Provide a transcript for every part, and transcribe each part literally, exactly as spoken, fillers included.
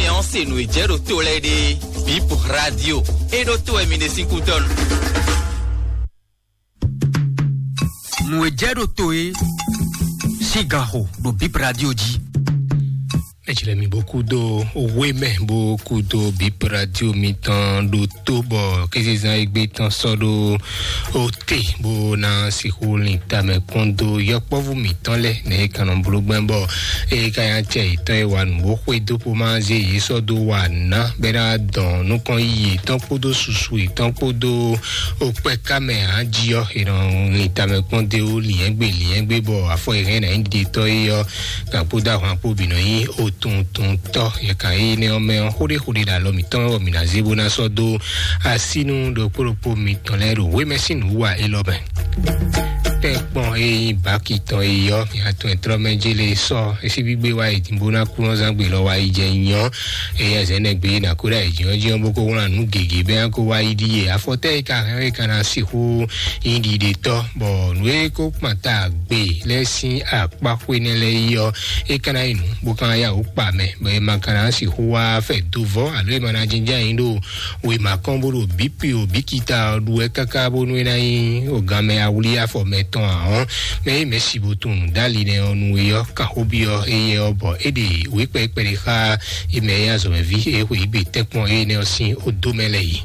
Ɔ́ se nǔ e jɛ ɖo to lɛ́ɛ ɖe, Bip Radio. E ɖo to wɛ mi ɖe sín kútɔ́nu. Nǔ e jɛ ɖo to e sín ganxo ɖo Bip Radio jí. Ecile mi bó kúdó wé mɛ bó kúdó Bip Radio mitɔn ɖo tó bɔ kézezán égbé tɔn sɔ́ ɖó ó te bó ná sixú lin tamɛ kpɔ́n dó yɔkpɔ́vú mitɔn lɛ́ɛ nɛ é kan nɔ bló gbɛ́ bɔ é ka nya cɛ yětɔn e wa nǔ bó xwedó bó má zé yě sɔ́ dó wa ná bɛ́ ná dɔn nukɔn yi yětɔn kpódó susu yětɔn kpódó ó kpɛ́ ká mɛ ǎ jí ɔ́, è nɔ lin tamɛ kpɔ́n dó ó liɛ́ngbé liɛ́ngbé bɔ afɔ e hɛn ná nyí ɖiɖetɔ́ é ɔ́, gǎn kpódó ahwan kpó bǐ nɔ nyí otuntun tɔ́. Yɛ kan énɛ́ ɔ́ mɛ ɔ́, xóɖéxóɖé ɖo alɔ mǐtɔn mɛ bɔ mǐ ná zé bó ná sɔ́ dó asínú ɖokpó ɖokpó mitɔn lɛ́ɛ ɖo wémɛ sín nǔwiwa élɔ́ mɛ. Tɛ́nkpɔ́n e nyí baki tɔn e yɔ mǐ atɔn e tlɔ́ mɛ jélé sɔ́ esígbígbé wá yi din bó ná kú nɔ́ zán gbe lɔ wá yi jɛ nyɔ. Eyɛ zɛ̌nɛgbé ná kó ɖo ayǐjínjɔ́n jí ɔ́ bó kó wlán nǔ gěgé bɛ́ ná kó wá yi ɖíe. Afɔtɛ́ e ka hɛn é ka ná sixú nyí ɖiɖetɔ́, bɔ nǔ e kó kpan ta gbe lɛ́ɛ sín akpá xwé nɛ́ lɛ́ɛ yi ɔ́, é ka ná nyí nǔ bó ka ná yá wǔ kpa mɛ, bɔ è ma ka ná sixú wá fɛ dovɔ́ alo è ma ná jínjɔ́n ayǐ ɖo wěma kɔn bó ɖo bǐpi o bǐkita ɔ́ ɖu wɛ káká bónú é ná nyí o ganmɛ awlí afɔ mɛtɔn ǎ ɔ́, mɛ e mɛ si bo tunwun nǔ dali nɛ ɔ́ nu é ɔ́, kan xó byɔ́ éyɛ́ ɔ́ bɔ é ɖe wěkpɛ́kpɛ́ ɖé xá é mɛ e azɔ̌mɛví e xwe yǐ gbe tɛ́nkpɔ́n énɛ́ ɔ́ sín odó mɛ lɛ́ɛ yi.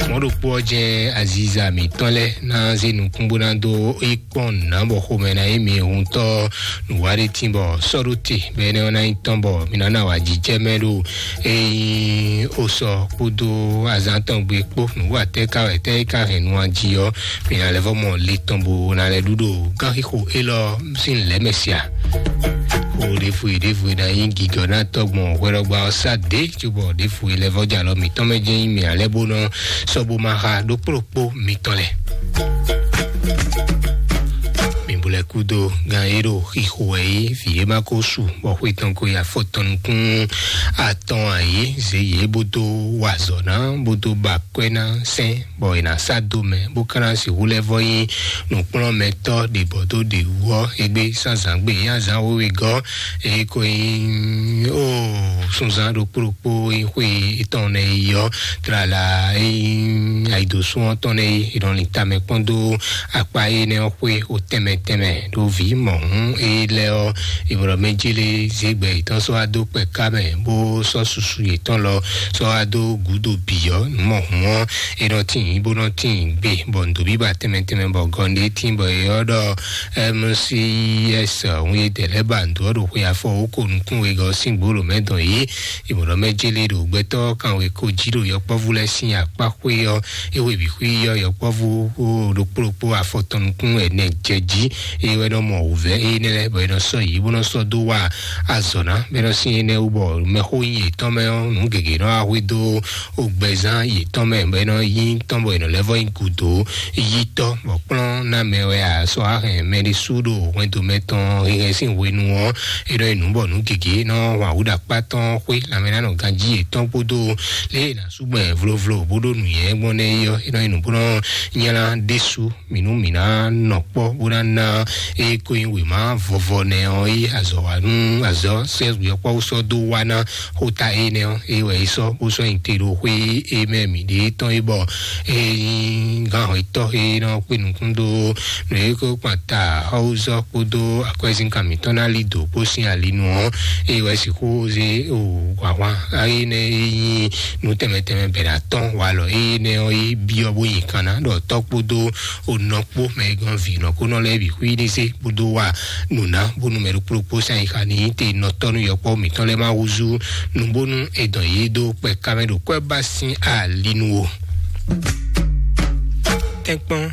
Mɔ̌ ɖokpó ɔ́ jɛ́n aziza mǐtɔn lɛ́ɛ ná zé nukún bó ná dó yi kpɔ́n nǔ ná bɔ xomɛ ná nyí mi huntɔ́ nǔwa ɖé tín bɔ sɔ́ ɖó te bɔ énɛ́ ɔ́ ná nyí tɔn bɔ mi ná ná wǎ jijɛ mɛ ɖo ényí ó sɔ kpódó azǎn tɔn gbe kpó nǔwa tɛ́ ká wɛ tɛ́ é ká hɛn nu jí ɔ́, mi ná lɛ́ vɔ mɔ le tɔn bo ná lɛ́ ɖu ɖo gánxixo élɔ́ sín lɛ̌ mɛ sia. Xo ɖěvo e ɖěvo e ná nyí gigɔ ná tɔ́ gbɔn hwɛɖɔgba ɔ́ sá dě cóbɔ ɖěvo e lɛ́ vɔ jɛ alɔ mǐtɔn mɛ jɛ́n nyí mǐ ǎ lɛ́ bó nɔ sɔ́ bó má xá ɖokpó ɖokpó mitɔn lɛ́ɛ. Mi bu lɛ kúdó gan e ɖo xixo wɛ é, vǐ e ma ko su bɔ xwe tɔn ko yi afɔ tɔn nukún atɔn ǎ é, zě yě bó dó wa azɔ̌ ná bó dó ba kwɛ́ ná sɛn bɔ è nǎ sá dó mɛ bó ka ná sixú lɛ́ vɔ nyí nǔkplɔ́nmɛtɔ́ ɖě bɔ dó ɖě wú ɔ́, égbé zǎnzǎngbe nyí azǎn wěwé gɔ́. É ko nyí ó sunzán ɖokpó ɖokpó e xwe étɔn nɛ yi ɔ́, tlala e nyí ayidosún ɔ́ tɔn nɛ yi, è nɔ lin tamɛ kpɔ́n dó akpa énɛ́ ɔ́ xwé o tɛnmɛ tɛnmɛ ɖo vǐ mɔ̌hún é lɛ́ɛ ɔ́, è nɔ mɛ jélé zé gbɛ yětɔn sɔ́ wá dó kpɛ ká mɛ bó sɔ́ susu yětɔn lɔ sɔ́ wá dó gǔdo bǐ ɔ́, nǔ mɔ̌hún ɔ́, è nɔ tíin bó nɔ tíin gbe bɔ nǔɖoɖíba tɛnmɛ tɛnmɛ bɔ gɔndé tíin bɔ è ɔ́ ɖɔ M C S hun e dɛ lɛ́ ba nǔ ɔ́ ɖo xwe afɔ wǒ ko nukún wegɔ́ sín gbǒɖo mɛ dɔn yě. Ìmọ̀ràn mɛ jélé ɖo gbɛtɔ́ kan wě ko jí ɖo yɔkpɔ́vú lɛ́ɛ sín akpá xwé ɔ́, é hwe bǐ xwí ɔ́ yɔkpɔ́vú ɖokpó ɖokpó afɔ tɔn nukún ɛnɛ jɛ jí, é wɛ nɔ mɔ wǔvɛ́ énɛ́ lɛ́ɛ bɔ é nɔ sɔ́ yě bó nɔ sɔ́ dó wa azɔ̌ ná, bɔ é nɔ sín énɛ́ wú bɔ mɛxó nyi yětɔn mɛ ɔ́, nǔ gěgé nɔ wá hwedó ogbɛzán yětɔn mɛ, bɔ é nɔ yí tɔn bɔ è nɔ lɛ́ vɔ nyi gǔdo yítɔ́, bɔ kplɔ́n ná mɛ wɛ a sɔ́ axɛn mɛ ɖé sú ɖo hwɛndo mɛ tɔn hɛhɛ sín hwenu ɔ́, é nɔ nyi nǔ bɔ nǔ gěgé nɔ hwan wǔ ɖo akpá tɔn xwé lanmɛnánɔ ganjí yětɔn kpódó lě e è nǎ sú gbɔn vlovlo bó ɖó nǔnywɛ́ gbɔn nɛ́ é ɔ́, é nɔ nyi nǔ bó nɔ nylá ɖésú mǐ nú mǐ ná nɔ kpɔ́ bó ná ná é ko nyí wěma vɔvɔ nɛ ɔ́ é azɔ̌ wa nú azɔ̌ sɛ́ yɔkpɔ́ sɔ́ dó wá ná xóta énɛ́ ɔ́, é wɛ é sɔ́ bó sɔ́ nyi te ɖo xwé é mɛ mǐ ɖe tɔn é bɔ é nyí gǎnhwɛtɔ́ é nɔ kpé nukún dó nǔ e ko kpan ta xɔ́wúzɔ́ kpódó akwɛ́zínkan mǐtɔn ná lí dǒ kpó sín ali nu ɔ́, é wɛ sixú zé o hwahwan énɛ́ é nyí nǔ tɛnmɛ tɛnmɛ bɛ̌ ná tɔ́n walɔ énɛ́ ɔ́ é byɔ́ bó nyi kan ná ɖɔ tɔ́ kpódó onɔ kpó mɛ e gɔ́n vǐ nɔ kó nɔ lɛ́ɛ bǐ xwí ní zé bó dó wa nǔ ná bónú mɛ ɖokpó ɖokpó sín ayixa ní nyí te nɔtɔ́ nú yɔkpɔ́ mǐtɔn lɛ́ɛ má húzú nǔ bónú è dɔn yě dó kpɛ ká mɛ ɖo kwɛ́ ba sín ali nu o. Tɛ́nkpɔ́n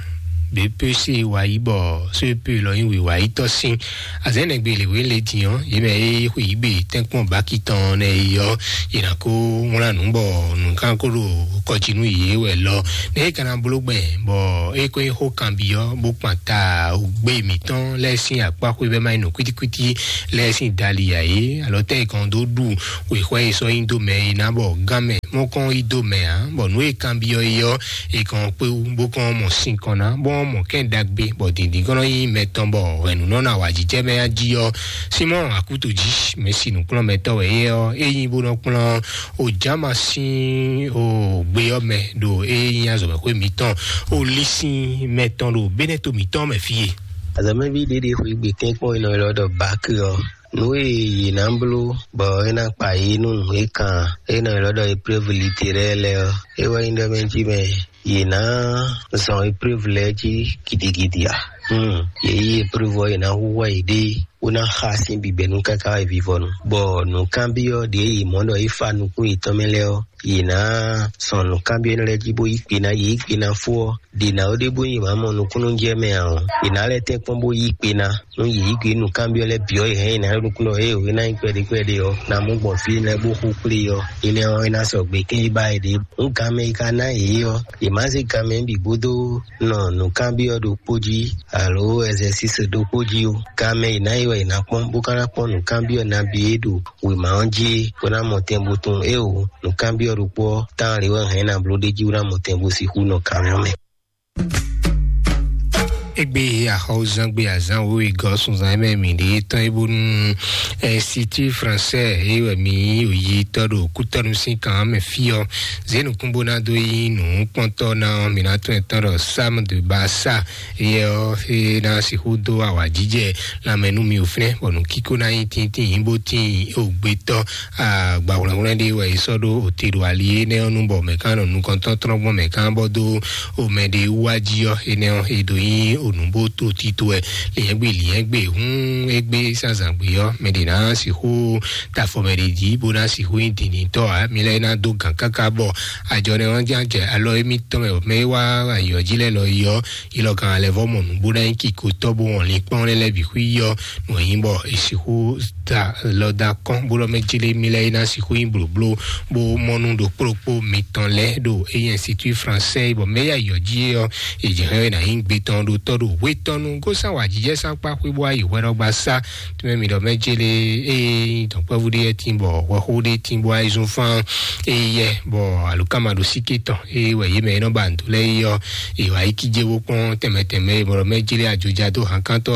B P C wa yí bɔ C P lɔ nyí wěwayítɔ́ sín azɛ̌nɛgbé lě wé lě din ɔ́, yě mɛ e xwe yǐ gbe tɛ́nkpɔ́n baki tɔn nɛ yi ɔ́, yě ná kó wlán nǔ bɔ nǔkan kó ɖo kɔjí nú yě wɛ lɔ. Nɛ é ka ná bló gbɛn bɔ é ko nyí xó kanbyɔ́ bó kpan ta gbé mǐtɔn lɛ́ɛ sín akpá xwé bɛ́ má nyí nǔ kwítíkwítí lɛ́ɛ sín dali ǎ é, alɔ tɛ́ è kɔn dó ɖu wěxwɛ́ e sɔ́ nyí dó mɛ e ná bɔ gán mɛ mɔ kɔn yi dó mɛ ǎ, bɔ nǔ e kanbyɔ́ é ɔ́, è kàn kpé wú, bó kɔn mɔ sin kɔn ná, bó mɔ kɛn ɖagbe, bɔ dǐndín kɔn nɔ nyí mɛ tɔn, bɔ hɛ̌nnú nɔ ná wǎjijɛ mɛ jí ɔ́. Simɔ́ɔ Akútu jí, mɛ si nǔkplɔ́nmɛtɔ́ wɛ é ɔ́, é nyí bó nɔ kplɔ́n o Jama sín o gbe ɔ́ mɛ ɖo é nyí azɔ̌mɛxwé mǐtɔn o Lisin mɛ tɔn ɖo Bɛ́nɛ́to mǐtɔn mɛ fí e. Azɔ̌mɛví ɖé ɖe xwé gbe kɛ́nkpɔ́n e nɔ ylɔ́ ɖɔ Báki ɔ́, nǔ e yě ná bló bɔ é ná kpa yě nú nǔ e kan é nɔ ylɔ́ ɖɔ épreuve littéraire lɛ́ɛ ɔ́, é wɛ nyí ɖɔ mɛ jí mɛ yě ná zɔn épreuve lɛ́ɛ jí gidigidi a? Hmm. Yě yí épreuve ɔ́, yě ná hu hwɛ yěɖée, bó ná xa sín bǐbɛ́nu káká wɛ vivɔnu. Bɔ nǔkanbyɔ́ ɖě yě mɔ ɖɔ é fa nukún yětɔn mɛ lɛ́ɛ ɔ́, yě ná zɔn nǔkanbyɔ́ énɛ́ lɛ́ɛ jí bó yí gbe ná, yě yí gbe ná fó ɔ́, ɖě ná ó ɖe bó yě má mɔ nukúnnú jɛ mɛ ǎ ɔ́, yě ná lɛ́ tɛ́nkpɔ́n bó yí gbe ná. Nú yě yí gbe nukánbyɔ́ lɛ́ɛ bǐ ɔ́, yě hɛn yě ná ɖo nukúnnú ɔ́, ée wǒ é ná nyí kpɛɖé kpɛɖé ɔ́, ná mɔ gbɔn fí ná bó xú kplé ɔ́, énɛ́ ɔ́, é ná sɔgbe kɛ́n yi ba yě ɖě. Nú ganmɛ yi ka ná yě ɔ́, yě má zé ganmɛ bǐ gbódó nɔ nukánbyɔ́ ɖokpó jí alo ɛzɛsísi ɖokpó jí ó. Ganmɛ yě ná yi wɛ yě ná kpɔ́n, bó ka ná kpɔ́n nukánbyɔ́ nabí e ɖo wěma ɔ́ jí é, bó ná mɔ tɛn bó tunwun éeǒ, nukánbyɔ́ ɖokpó ɔ́, tán lě wɛ hɛn ná bló ɖ'é jí bó ná mɔ tɛn bó sixú nɔ kanmɛ mɛ. Egbe axɔzangbe azan wo igɔ sunzan mɛ mi ɖe tɔn e bonu Institut Français e wɛ mi yi tɔ ɖo kutɔnu sin kan mɛ fi ɔ, zenu kunbo na do yi nu kpɔntɔ na mi na tɔn etɔn ɖɔ Sam de Basa ye ɔ e na sihu do awajijɛ lamɛ nu mi oflɛ bɔ nu kiko na yi tintin yi bo tin ogbetɔ agbahwlɛhwlɛ ɖe wɛ yi sɔ ɖo ote ɖo ali énɛ́ ɔ́ nu bɔ mɛ kan nɔ nukɔntɔn trɔn gbɔn mɛ kan bɔ do o mɛ ɖe wá jí ɔ́, énɛ́ ɔ́, e ɖo nyí onǔ bó to tito wɛ. Lǐnyɛ́gbe lǐnyɛ́gbe hún égbé sázangbe ɔ́, mɛ ɖě ná sixú tafɔ mɛ ɖě jí bó ná sixú nyí dǐndíntɔ́ ǎ. Mi lɛ́ ná dó gǎn káká bɔ ajɔ nɛ ɔ́ ján jɛ alɔ émítɔn mɛ, mɛ e wá ayǐ ɔ́ jí lɛ́ lɔ yi ɔ́, yi lɔ gǎn alɛ vɔ́ mɔ nǔ bó ná nyí kikotɔ́ bó wɔn linkpɔ́n lɛ́ lɛ́ bǐ xwí yi ɔ́, nǔ e nyí bɔ è sixú ta lɔ da kɔn bó lɔ mɛ jlé mi lɛ́ é ná sixú nyí blǒbló bó mɔ nú ɖokpó ɖokpó mitɔn lɛ́ɛ ɖo é nyí Institut Français bɔ mɛ ya yɔ jí é ɔ́, è jɛ hɛn wɛ ná nyí gbetɔn ɖo tɔ́ ɖo hwetɔ́nu gosán wǎjijɛ sánkpá xwé bó wá yi hwɛɖɔgba sá. Tɔmɛ mi ɖɔ mɛ jlé é nyí dɔ̌nkpɛvú ɖé yɛ tín bɔ hwɛxó ɖé tín bó wá yi zún fán é yɛ bɔ alukama ɖo síké tɔn é wɛ yé mɛ é nɔ ba nǔ lɛ́ɛ yi ɔ́, è wǎ yi kíjé bó kpɔ́n tɛnmɛ tɛnmɛ bɔ ɖɔ mɛ jlé ajoja dó hankantɔ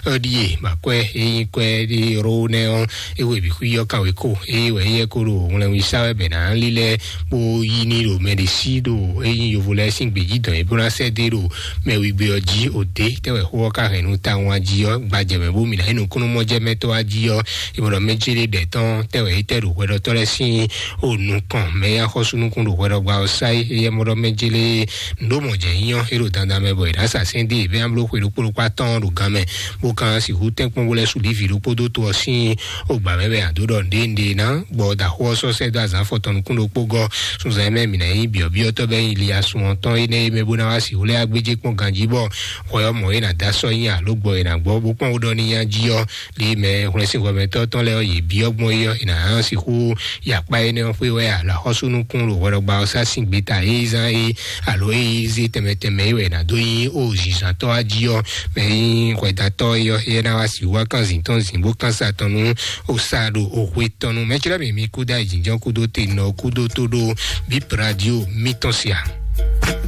ɔ́ ɖíe bɔ akwɛ́ e nyí kwɛ́ ɖé ró nɛ́ ɔ́, é wɛ bǐ xwí ɔ́ kan wě ko, é wɛ éyɛ́ ko ɖo wlɛnwísá wɛ bɛ ná lílɛ́ bó yí ní ɖo mɛ ɖě sí ɖo é nyí yovo lɛ́ɛ sín gbějí dɔn é bó ná sɛ́ dó ɖo mɛ wígbé ɔ́ jí òdé tɛ́ wɛ xó ɔ́ ka hɛn nú tawun wá jí ɔ́, gbajɛ mɛ bó mǐ ná nyí nukúnnú mɔjɛmɛtɔ́ wá jí ɔ́, é bɔ ɖɔ mɛ jlé ɖɛ̌ tɔn tɛ́ wɛ é tɛ ɖo hwɛɖɔtɔ́ lɛ́ɛ sín o nukɔn mɛ ya xɔ́sú nukún ɖo hwɛɖɔgba ɔ́ sá é, éyɛ́ mɔ ɖɔ mɛ jlé nǔɖó mɔ̌ jɛ nyí ɔ́, é ɖo dandan mɛ bɔ è nǎ sa sɛ́n dó yě bɛ́ ambló xwe ɖokpó ɖokpó atɔ́ɔ́n ɖo gan mɛ, bó kán sixú tɛ́nkpɔ́n bó lɛ́ su ɖívi ɖokpó dó to ɔ́ sín ogbǎ mɛ bɔ è nǎ dó ɖɔ nǔɖé nǔɖé ná, bɔ ɖaxó ɔ́ sɔ́ sɛ́ dó azǎn afɔtɔn nukún ɖokpó gɔ́. Sunzan mɛ mǐ ná nyí byɔ̌byɔ́tɔ́ bɛ́ nyí li asún ɔ́ tɔn énɛ́ e mɛ bó ná wá sixú lɛ́ wá gbéjé kpɔ́n ganjí bɔ hwɛ ɔ́ mɔ̌ é ná dó asɔ́ nyi alǒ gbɔ è nǎ gbɔ bó kpɔ́n wó ɖɔ ní nya jí ɔ́, li mɛ hwlɛ́nsín hwɛmɛtɔ́ tɔn lɛ́ɛ ɔ́, yě byɔ́ gbɔn é ɔ́, è nǎ sixú yi akpá énɛ́ ɔ́ xwé wɛ alǎxɔ́súnukún ɖo hwɛɖɔgba ɔ́ sá sín gbeta e zán é alo e yi zé tɛnmɛ tɛnmɛ é wɛ è nǎ dó nyí o zǐnzǎntɔ́ wá jí ɔ́, mɛ e nyí hwɛdátɔ́ é ɔ́, éyɛ́ ná wá sixú wá kán zǐntɔ́n zǐn bó kán sa tɔn nú o sa ɖo o hwe tɔn nu. Mɛ̌ clɛ́ mǐ mi kú dó ayǐjínjɔ́n kúdó te nɔ kúdó tó ɖó bíp radio mítɔn sia.